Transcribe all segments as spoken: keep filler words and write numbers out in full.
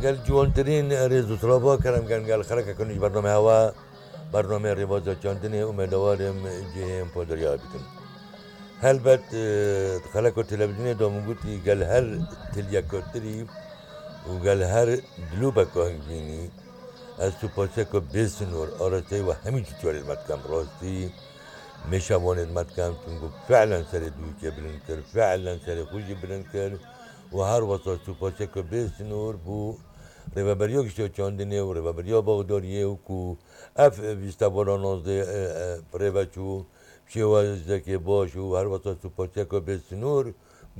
Gel ciwantirîn rêz û silava kerem ken gel xelekeke nû ji bername hewa, bername rêbaza çandinê û me dewarê em cihê em poderiya bikin. Helbet, e, xeleko televîzyonê de min gotî gel her tiliyeka tirî û gel her dilopeka hingvînî ez supaseko bê sinor arasteyê we hemî cî çarê me dikem rastî. Mêşa Wanê me dikem, çunku fiilen serê dûkê bilind kir, fiilen serê xwe jî bilind kir û her wesa supaseke bê sinor bû Rêveberiya Gişta Çandinê û Rêveberiya Baxdariyê û ku ev vîstevala nozdeh, e, e, rêve çû, şêwazekê baş û her wesa supaseke bê sinor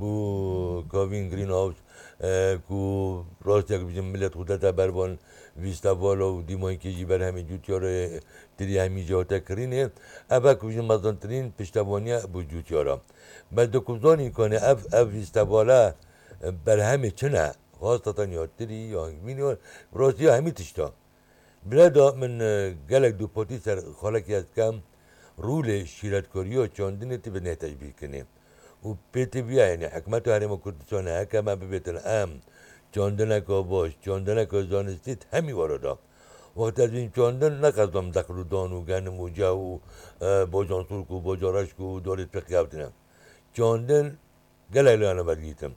bû Kavîn Greenhouse, e, ku rastiyek bijim millet xwe dete ber van vîstevala û dîmankê jî berhemê cûtiyarê tirî hemî jî hate kirînê. Ev e ku bijim mezintirîn piştevaniye bû cûtiyara. Bes di ku zanîn kanê ev, ev vîstevale, e, berhemê çi ne? Xasteten ya tirî, ya hingvînî, ya rastî ya hemî tişta. Bi rê de min, e, gelek dûpatî ser xalekî ez dikem, rûlê şîretkariya çandinê ti bi nê teşbîh kinê. Û pê ti viya, yanî hikûmeta Herêma Kurdistanê heke me bibêtin em çandineka baş, çandineka zanistî di hemî were de. Wextê ez bînim çandin, ne qesdam deqil û dan û genim û ceh û, e, bacan sûrk û baca reşk û dorê pêqiyavtine. Çandin gelek lana me digihîtin.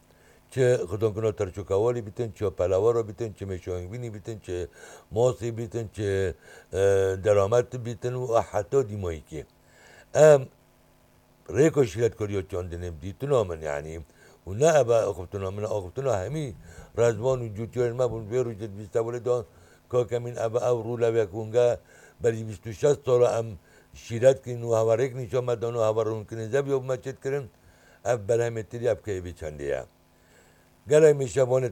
Çi xidankirina terçoka walî bitin, çi pelawara bitin, çi mêşahingvînî bitin, çi masî bitin, çi, e, deramet bitin û heta dîmayîkî. Em rêka şîretkariya çandinê bi dîtina min, yanî, û ne ev e axiftina min, axiftina hemî rezvan û cûtiyarên me bûn. Vê rojê di vîstevalê de, kak Emîn, ev e, ev rûl e, ev yek hûnge berî bîst û şeş sala em şîret kirin û hewa rêk nîşan me dan û hewa rûnkirin zeviya bi me çêt kirin. Ev berhemê tirî, ev keyfê çendê ye. Gelek mêşevanê